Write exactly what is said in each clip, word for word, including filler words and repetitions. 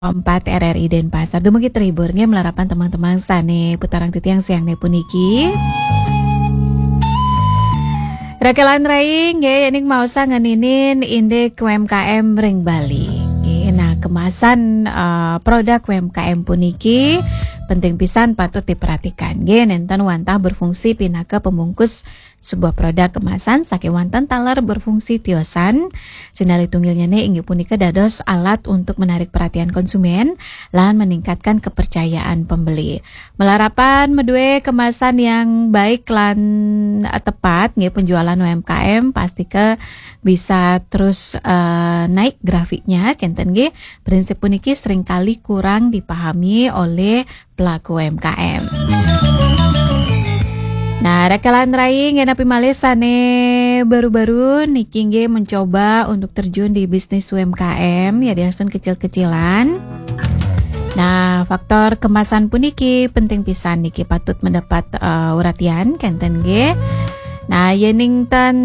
empat R R I Denpasar. Dumugi terhibur nggih malarapan teman-teman sane putarang titiang siang ne puniki. Rakelan rai nggih, yening maosa ngeninin indik U M K M ring Bali. Nggih, nah, kemasan, eh, produk U M K M puniki penting pisan patut diperhatikan. Nggih, nenten wantah berfungsi pinaka pembungkus sebuah produk kemasan sakewanten taler berfungsi tiosan. Sinalih tunggilnyane inggih punika dados alat untuk menarik perhatian konsumen lan meningkatkan kepercayaan pembeli. Malarapan madue kemasan yang baik lan, eh, tepat nggih, penjualan U M K M pastika bisa terus, eh, naik grafiknya, kenten nggih. Prinsip puniki seringkali kurang dipahami oleh pelaku U M K M. Nah, rakelan rai nggih, napi malih sane baru-baru niki nggih mencoba untuk terjun di bisnis U M K M, ya, diastun kecil-kecilan. Nah, faktor kemasan puniki penting pisan niki patut mendapat, eh, uratian, kenten nggih. Nah, yening ten,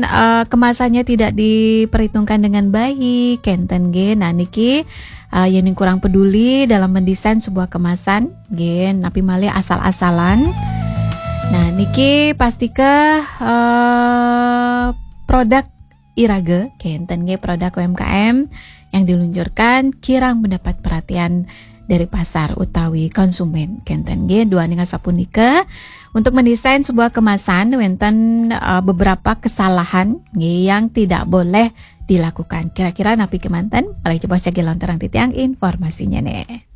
eh, kemasannya tidak diperhitungkan dengan baik, kenten nggih. Nah, niki, eh, yening kurang peduli dalam mendesain sebuah kemasan, nggih, napi malih asal-asalan. Nah, niki pastika, eh, produk iraga, kenten nggih, produk U M K M yang diluncurkan kirang mendapat perhatian dari pasar utawi konsumen, kenten nggih. Duaning asapunika, untuk mendesain sebuah kemasan wenten, eh, beberapa kesalahan nggih yang tidak boleh dilakukan. Kira-kira napi kemanten? Malih coba sagi lontarang titiang informasinya nih.